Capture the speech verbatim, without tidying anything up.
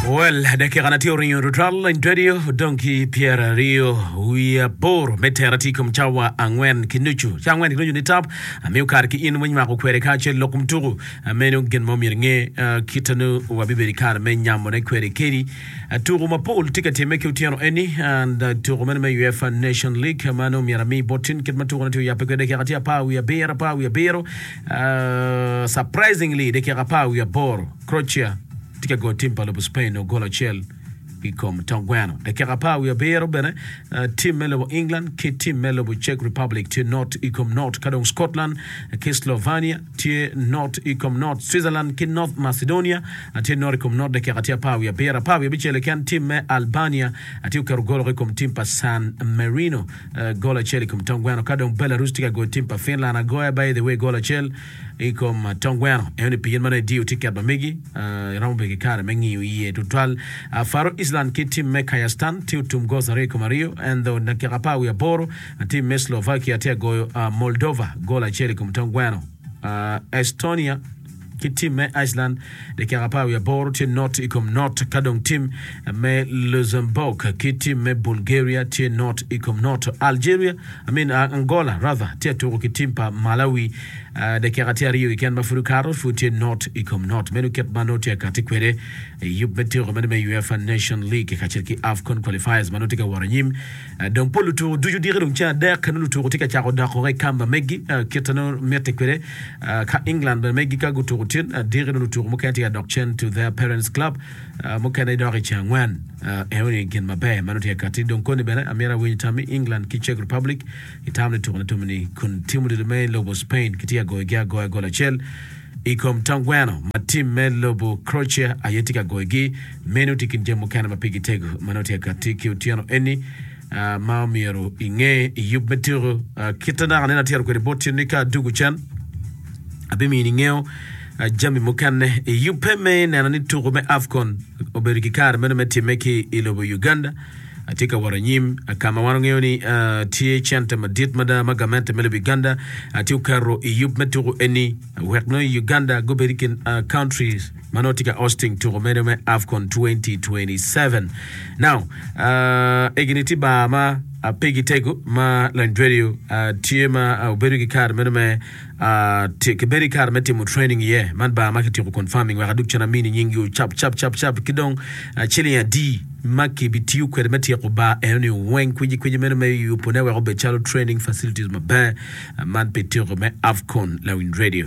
Well, dakika na tye oringo tutwal in radio odong ki pyeraryo wiye aboro me tera tye i kom cawa angwen ki nucu. Cawa angwen ki nucu ni tap amiyo kare ki in me nywako kwede kacel lok kom tuku. Meno gin ma omyero inge kite nu wabibedo i kare me nyamone kwede kedi. Tuku mapol tye ka timme ki otyeno eni and tuku meno me UEFA Nation League ma nongo myero ami bot tin kit ma tukune tye oyabbe kwede dakika tye apar wiye abiro apar wiye abiro surprisingly dakika apar wiye aboro Croatia tye ka goyo tim pa lobo Spain nongo gol acel i kom tong gweno. Dakika apar wiye abiro bene tim me lobo England ki tim me lobo Czech Republic tye not i kom not ka dong Scotland ki Slovenia tye not i kom not Switzerland ki North Macedonia tye not i kom not dakika tye apar wiye abiro apar wiye abicel keken tim me Albania tye oketo gol i kom tim pa San Marino gol acel i kom tong gweno ka dong Belarus tye ka goyo tim pa Finland agoya by the way gol acel i kom tong gweno eno ni pien ma nongo idiyo tiket ma megi iromo bedo ki kare me ngiyo iye tutwal. Faroe Island ki tim me Kazakhstan tye otum goals aryo i kom aryo ento dakika apar wiye aboro tim me Slovakia tye ka goyo Moldova gol acel i kom tong gweno. Estonia ki tim me Iceland dakika apar wiye aboro tye not i kom not ka dong tim me Luxembourg ki tim me Bulgaria tye not i kom not. Algeria I mean Angola rather tye ka tuko ki tim pa Malawi dakika tye aryo keken ma pud okato pud tye not i kom not. Meno kit ma nongo tye ka kati kwede i yub me tuko meno me UEFA Nation League kacel ki AFCON qualifiers ma nongo tye ka wot anyim. Dong pol lutuko ducu diki dong ceng adek nongo lutuko tye ka cako doko i kamba megi kit ma nongo mitte kwede ka England bene megi ka gutuko tin diki nongo lutuko mukene tye ka dok cen to their parents club mukene dok i ceng angwen enoni gin maber ma nongo tye ka kati dong koni bene amyero awiny tammi England ki Czech Republic itamo ni tuko ne tumoni kun tim odilo me lobo Spain kitye ka goyogi agoya gol acel i kom tong gweno ma tim me lobo Croatia aye tye ka goyogi. Meno tye i kin jami mukene ma pigi tego ma nongo tye ka katti ki otyeno eni ma omyero inge i yub me tuko. Kite naka nene atyero kwede bot tin ni ka adugo cen abimini ingeyo jami mukene i yubbe me neno ni tuko me AFCON obedo ki kare meno me timme ki i lobo Uganda. Atye ka wot anyim ka ma wan wangeyo ni tye cente madit mada ma gamente me lobo Uganda tye oketo i yub me tuko eni wek nongo Uganda gubed i kin countries ma nongo tye ka hosting tuko meno me AFCON twenty twenty-seven. Now, egini tye bar ma pigi tego ma Landredio tye ma obedo ki kare meno me kibedo ki kare me timo training iye. Man bar ma kityeko confirming wek adug cen amini nyinggi cap cap cap cap ki dong ciling adi ma kibitiyo kwede me tyeko bar enoni weng kwicikwici meno me yubone wek obed calo training facilities maber man pi tyeko me AFCON Lawiny Radio.